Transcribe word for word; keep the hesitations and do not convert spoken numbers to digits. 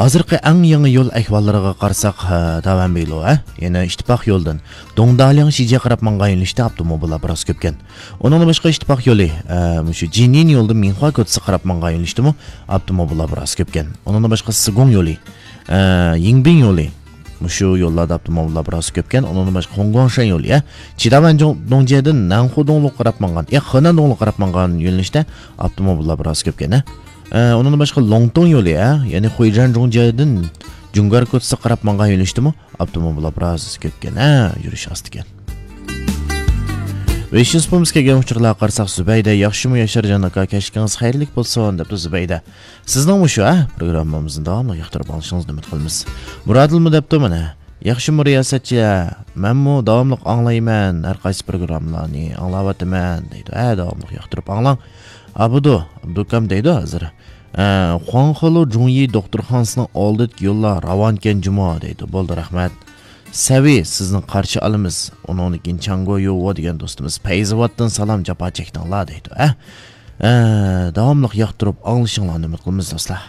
ھازىرقى ئەڭ يېڭى يول ئەھۋاللىرىغا قارىساق، ھە، داۋەن بىلو، ھە، يەنى ئىتتىپاق يولىدىن دۇڭدالياڭ شىجيە قاراپ ماڭغان يۆنىلىشتە ئاپتوموبىللار بىراز كۆپكەن. ئۇنىڭدىن باشقا ئىتتىپاق يولى، ھە، مۇشۇ جىنيىن يولىدىن مىنخۇا كوچىسىغا قاراپ ماڭغان يۆنىلىشتىمۇ ئاپتوموبىللار بىراز كۆپكەن. ئۇنىڭدىن باشقا سىگۇڭ يولى، ھە، يىڭبىڭ يولى، مۇشۇ يوللاردا ئاپتوموبىللار بىراز كۆپكەن. ئۇنىڭدىن باشقا خۇڭگۇاڭشەن يولى، ھە، چىداۋەن جۇڭ-، دۇڭجيەدىن نەنخۇ دۇڭلۇققا قاراپ ماڭغان، يا، خېنەن دۇڭلۇققا قاراپ ماڭغان يۆنىلىشتە ئاپتوموبىللار بىراز كۆپكەن، ھە. ئە، ئۇنىڭدىن باشقا لوڭتۇڭ يولى، ھە، يەنى خۇيجەن جۇڭجيەدىن جۇڭگار كوچىسىغا قاراپ ماڭغان يۆنىلىشتىمۇ ئاپتوموبىللار بىراز كۆپكەن، ھە، يۈرۈش ئاستىكەن. ۋېشىنسپومىسكا كەلگەن ئۇچۇرلارغا قارىساق، زۇبەيدە، ياخشىمۇ ياشارجان ئاكا، كەچلىكىڭىز خەيرلىك بولسۇن، دەپتۇ زۇبەيدە. سىزنىڭمۇ شۇ، ھە، پروگراممىمىزنى داۋاملىق ياقتۇرۇپ ئاڭلىشىڭىزنى ئۈمىد قىلىمىز. مۇرادىلمۇ دەپتۇ مانا، ياخشىمۇ رىياسەتچى، ھە، مەنمۇ داۋاملىق ئاڭلايمەن، ھەر قايسى پروگراممىلارنى ئاڭلاۋاتىمەن، دەيدۇ. ھە، داۋاملىق ياقتۇرۇپ ئاڭلاڭ. ئابدۇ، ئابدۇكام دەيدۇ ھازىر. ئە، خۇاڭخېلۇ جۇڭيى دوختۇرخانىسىنىڭ ئالدىدىكى يوللار راۋانكەن جۇمۇ دەيدۇ. بولدى، رەھمەت. سەۋى، سىزنى قارشى ئالىمىز. ئۇنىڭدىن كېيىن چاڭگو يۇۋو دېگەن دوستىمىز پەيزىۋاتتىن سالام، جاپا چەكتىڭلار دەيدۇ. ئە، ئە، داۋاملىق ياقتۇرۇپ ئاڭلىشىڭلارنى ئۈمىد قىلىمىز، دوستلار.